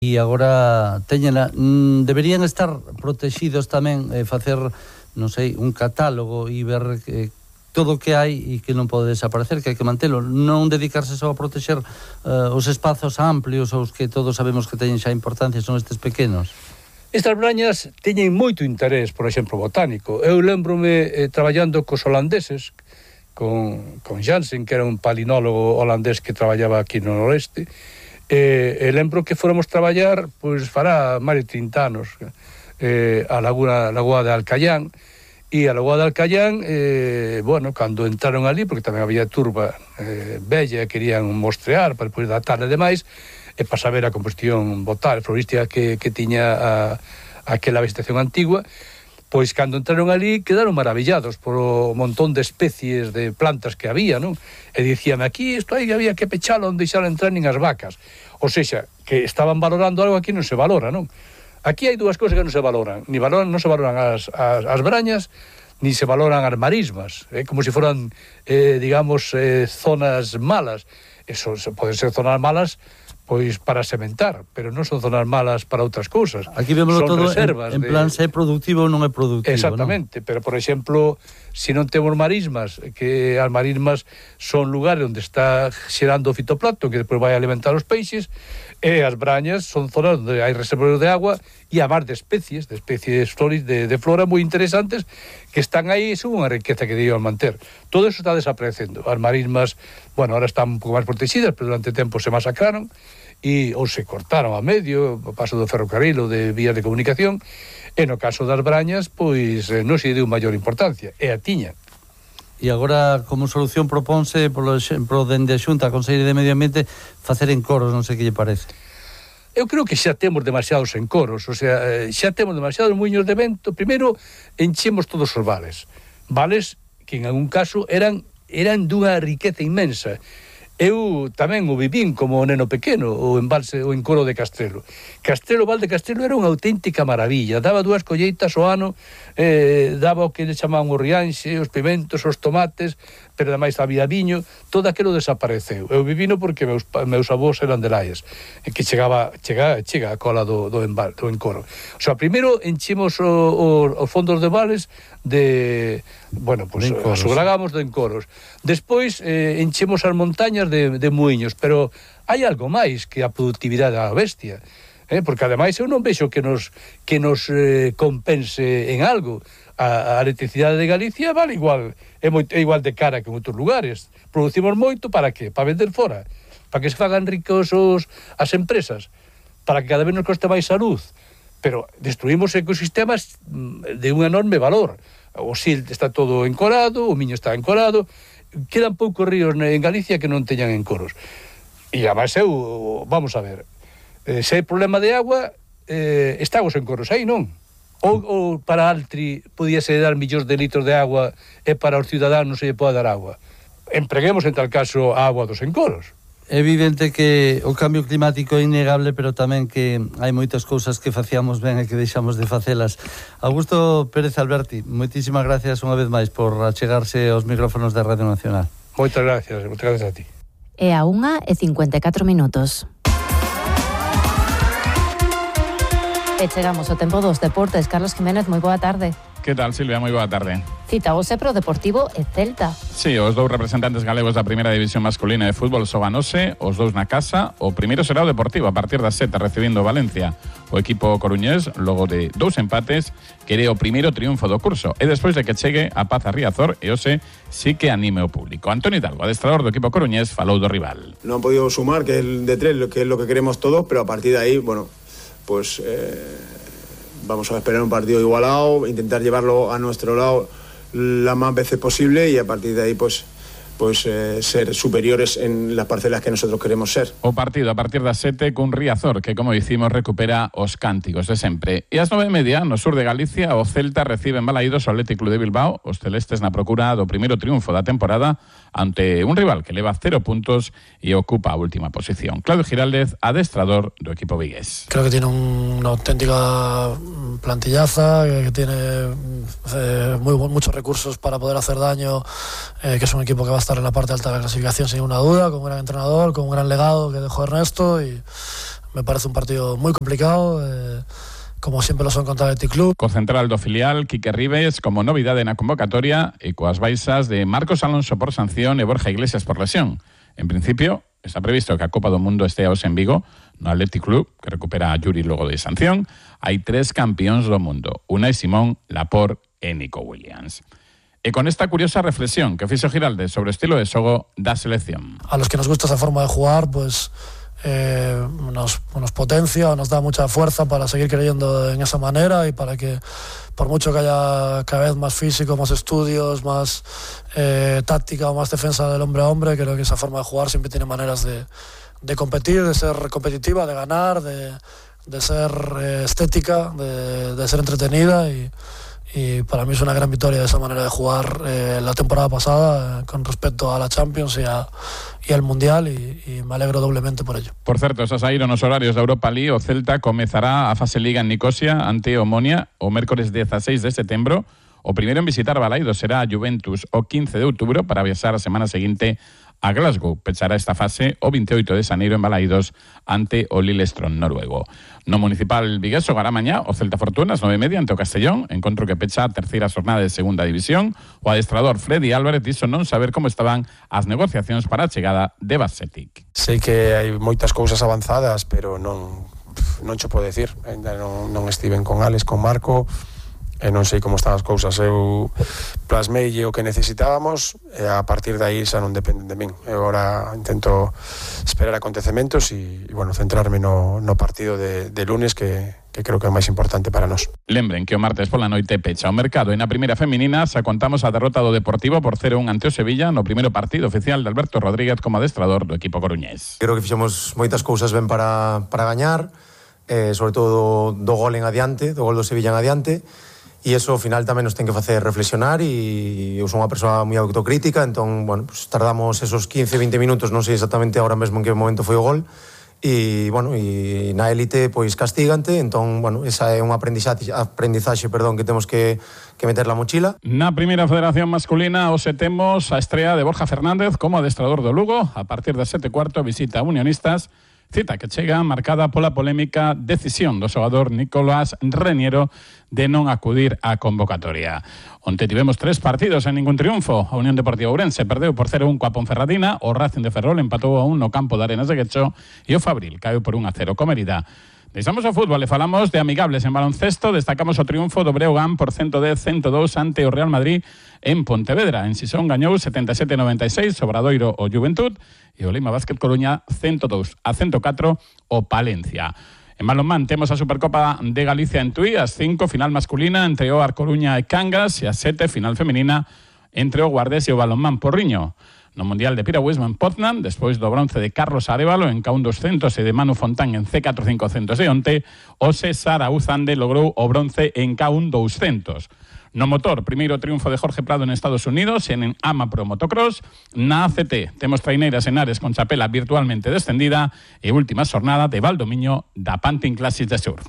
e agora teñena. Deberían estar protegidos tamén, facer, non sei, un catálogo e ver todo o que hai e que non pode desaparecer, que hai que mantelo, non dedicarse só a protexer os espazos amplios, os que todos sabemos que teñen xa importancia, son estes pequenos. Estas brañas teñen moito interés, por exemplo, botánico. Eu lembrome traballando cos holandeses, con Jansen, que era un palinólogo holandés que traballaba aquí no noreste, e lembro que fóramos traballar, pois fará máis de 30 anos, a Lagoa de Alcayán, e a Lagoa de Alcayán, bueno, cando entraron ali, porque tamén había turba bella, querían mostrear para depois datar e demais, e para saber a composición botánica, florística que tiña aquela vegetación antigua, pois cando entraron ali quedaron maravillados por o montón de especies de plantas que había, non? E dicíame, aquí isto aí había que pechalo onde deixar entrar nin as vacas. Ou seja, que estaban valorando algo aquí non se valora, non? Aquí hai dúas cousas que non se valoran. Non se valoran as brañas, ni se valoran as marismas, como se foran, digamos, zonas malas. Eso poden ser zonas malas pois para sementar, pero non son zonas malas para outras cousas. Aquí vemos todo en plan se é productivo ou non é productivo. Exactamente, ¿no? Pero por exemplo, se non temos marismas, que as marismas son lugares onde está xerando o fitoplancton que depois vai alimentar os peixes, e as brañas son zonas onde hai reservorios de agua e a mar de especies de flora moi interesantes que están aí, son unha riqueza que debían manter. Todo eso está desaparecendo. As marismas, bueno, ahora están un pouco máis protegidas, pero durante tempo se masacraron ou se cortaron a medio, o paso do ferrocarril ou de vías de comunicación, e no caso das brañas, pois non se deu maior importancia, e a tiña. E agora, como solución, propónse, por exemplo, dende a Xunta, a Consellería de Medio Ambiente, facer encoros, non sei que lle parece. Eu creo que xa temos demasiados encoros, o sea, xa temos demasiados muiños de vento. Primeiro, enchemos todos os vales que en algún caso eran dunha riqueza inmensa. Eu tamén o vivín como neno pequeno, o encoro de Castrelo. Val de Castrelo era unha auténtica maravilla, daba 2 colleitas ao ano, daba o que le chamaban o rianxe, os pimentos, os tomates, pero ademais había viño, todo aquilo desapareceu. Eu vivino porque meus avós eran de Laias, que chega a cola do encoro. O sea, primeiro enchimos os fondos de vales aseguramos de encoros. Despois enchemos as montañas de muiños, pero hai algo máis que a productividade da bestia, porque ademais eu non vexo que nos compense en algo. A electricidade de Galicia vale igual, é igual de cara que en outros lugares. Producimos moito para que? Para vender fora, para que se fagan ricos as empresas, para que cada vez nos coste máis a luz, pero destruímos ecosistemas de un enorme valor. O Sil está todo encorado, o Miño está encorado, quedan poucos ríos en Galicia que non teñan encoros. E además vamos a ver, se hai problema de agua, están os encoros aí, non? Ou para Altri podíase dar millóns de litros de agua e para os ciudadanos se lle pode dar agua. Empreguemos en tal caso a agua dos encoros. É evidente que o cambio climático é innegable, pero tamén que hai moitas cousas que facíamos ben e que deixamos de facelas. Augusto Pérez Alberti, moitísimas gracias unha vez máis por achegarse aos micrófonos da Radio Nacional. Moitas gracias a ti. É a 1:54. E chegamos ao tempo dos deportes. Carlos Jiménez, moi boa tarde. Que tal, Silvia? Moi boa tarde. Cita hoxe pro Deportivo e Celta. Sí, os dous representantes galegos da primeira división masculina de fútbol xogan hoxe, os dous na casa. O primeiro será o Deportivo a partir das 7 recibindo Valencia. O equipo coruñés, logo de 2 empates, quere o primeiro triunfo do curso e despois de que chegue a Paz a Riazor e hoxe sí que anime o público. Antonio Hidalgo, adestrador do equipo coruñés, falou do rival. Non han podido sumar, que é el de 3, que é lo que queremos todos, pero a partir de aí, bueno, pues vamos a esperar un partido igualado, intentar llevarlo a nuestro lado las más veces posible y a partir de ahí pues ser superiores en las parcelas que nosotros queremos ser. O partido a partir das 7 cun Riazor que, como dicimos, recupera os cánticos de sempre. E ás 9:30, no sur de Galicia, o Celta recibe en Balaídos o Athletic Club de Bilbao, os celestes na procura do primeiro triunfo da temporada ante un rival que leva 0 puntos e ocupa a última posición. Claudio Giraldez, adestrador do equipo vigués. Creo que tiene una auténtica plantillaza, que tiene muchos recursos para poder hacer daño, que es un equipo que va a estar en la parte alta de la clasificación sin ninguna duda, con un gran entrenador, con un gran legado que dejó Ernesto y me parece un partido muy complicado, como siempre lo son contra el Athletic Club. Co central do filial, Quique Ribes, como novidade na convocatoria, e coas baixas de Marcos Alonso por sanción e Borja Iglesias por lesión. En principio, está previsto que a Copa do Mundo este hoxe en Vigo, no Athletic Club, que recupera a Yuri logo de sanción. Hai 3 campións do mundo, Unai Simón, Laporte e Nico Williams. E con esta curiosa reflexión que fixo Giralde sobre o estilo de xogo da selección. A los que nos gusta esa forma de jugar, pues nos potencia, nos da mucha fuerza para seguir creyendo en esa manera y para que, por mucho que haya cada vez más físico, más estudios, más táctica o más defensa del hombre a hombre, creo que esa forma de jugar siempre tiene maneras de competir, de ser competitiva, de ganar, de ser estética, de ser entretenida y para mí es una gran victoria de esa manera de jugar la temporada pasada con respecto a la Champions y al Mundial y me alegro doblemente por ello. Por certo, xa saíron os horarios da Europa League. O Celta comezará a fase Liga en Nicosia ante Omonia o mércores 16 de setembro. O primeiro en visitar Balaidos será a Juventus o 15 de outubro para viaxar a semana seguinte a Glasgow. Pechará esta fase o 28 de xaneiro en Balaidos ante o Lillestrøm noruego. No municipal vigués xogará mañá o Celta Fortuna ás 9:30 ante o Castellón, encontro que pecha a terceira xornada de segunda división. O adestrador Freddy Álvarez dixo non saber como estaban as negociacións para a chegada de Basetic. Sei que hai moitas cousas avanzadas, pero non cho podo decir. Ainda non estiven con Alex, con Marco, e non sei como están as cousas. Eu plasmei o que necesitábamos e a partir de aí xa non dependen de min. Eu agora intento esperar acontecementos e bueno, centrarme no partido de lunes que creo que é o máis importante para nós. Lembren que o martes pola noite pecha o mercado e na primeira feminina xa contamos a derrota do Deportivo por 0-1 ante o Sevilla no primeiro partido oficial de Alberto Rodríguez como adestrador do equipo coruñés. Creo que fixemos moitas cousas ben para gañar, sobre todo do gol en adiante, do gol do Sevilla en adiante. E iso ao final tamén nos ten que facer reflexionar e eu son unha persoa moi autocrítica, entón, bueno, pues tardamos esos 15-20 minutos, non sei exactamente agora mesmo en que momento foi o gol, e, bueno, e na élite, pois, castígante, entón, bueno, esa é unha aprendizaxe, que temos que meter la mochila. Na primeira federación masculina, hoxe temos a estrea de Borja Fernández como adestrador do Lugo, a partir das 7:15 visita a Unionistas, cita que chega marcada pola polémica decisión do xogador Nicolás Reniero de non acudir á convocatoria. Onte tivemos 3 partidos en ningún triunfo. A Unión Deportiva Ourense perdeu por 0-1 coa Ponferradina, o Racing de Ferrol empatou a 1 no campo de Arenas de Guecho e o Fabril caeu por 1-0 co Mérida. Deixamos o fútbol e falamos de amigables en baloncesto. Destacamos o triunfo do Breogán por 110-102 ante o Real Madrid en Pontevedra. En Sison gañou 77-96 o Obradoiro o Juventud e o Lima Básquet Coruña 102-104 o Palencia. En balonmán temos a Supercopa de Galicia en Tui, ás 5 final masculina entre o Coruña e Cangas e ás 7 final femenina entre o Guardés e o Balonmán Porriño. No Mundial de Piragüismo en Poznan, despois do bronce de Carlos Arévalo en K1 200 e de Manu Fontán en C4 500 de onte, o César Auzande logrou o bronce en K1 200. No motor, primeiro triunfo de Jorge Prado en Estados Unidos en AMA Pro Motocross. Na ACT temos traineiras en Ares con chapela virtualmente descendida e última xornada de Valdomiño da Pantin Classics de Surf.